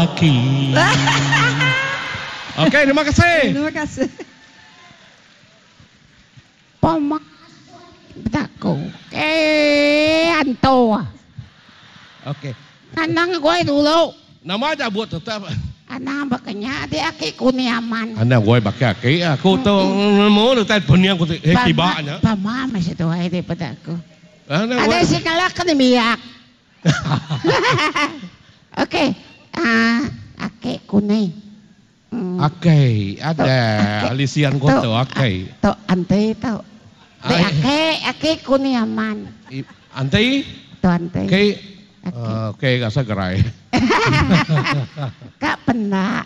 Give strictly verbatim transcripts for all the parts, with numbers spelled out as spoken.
Laki. Okey, terima kasih. Terima kasih. Poma bejaku ke antu. Okey. Anang goi dulu. Nama aja buat tetap. Anang baka nya di aki ku ni aman. Anang goi baka aki aku tu nemu utai pening aku ti kiba nya. Pama meh seduai ti peda aku. Adai singala ke nembiak. Okey aaa aki ku ni. Akei ada alisian ku tu akei. Tu anti tu. Ti aki aki ku ni aman. Anti? Tu anti. Aki okey rasa gerai. Ka penda.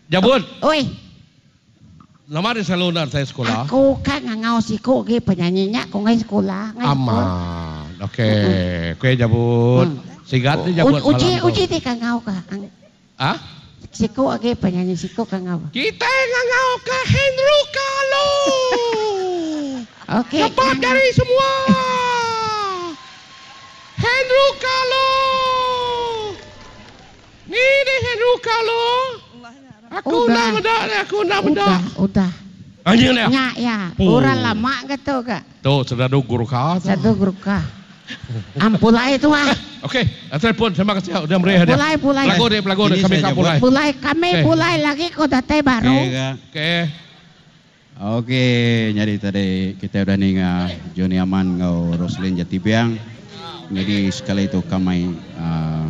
Jabut. Oi. Nama di selalu enda datai sekula? Aku ka ngangau siku agi penyanyi nya ku ngai sekula ngai sekul. Amat. Okey. Okey jabut. Sigat ni jabut malam Uji tu. uji ti kangau ka. Ah? Siku agi penyanyi siku kangau. Kitai ngangau ka Henry Kalo. Okey. Cepat jari semua. Henry Kalo. Ni deh Henry Kalo. Aku enda meda deh, aku enda meda. Udah, udah. Anjing dia. Nya iya, orang lama ga tu ga. Tu sedadu Gurkha tu. Sedadu Gurkha. Am pulai tu ah. Okey, telefon terima kasih udah meri hadiah. Pulai pulai. Belagu deh, belagu deh kami ka pulai. Pulai kami pulai lagi ko datai baru. Okey. Okey, nyadi tadi kitai udah ninga Johnny Aman enggau Roselyn Jatibiang. Nyadi sekali tu ka mai uhh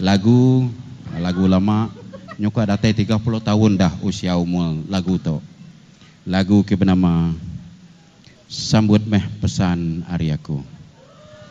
lagu lagu lama nyuka datai tiga puluh taun dah usia umur lagu tu. Lagu ke benama Sambut Meh Pesan Ari Aku.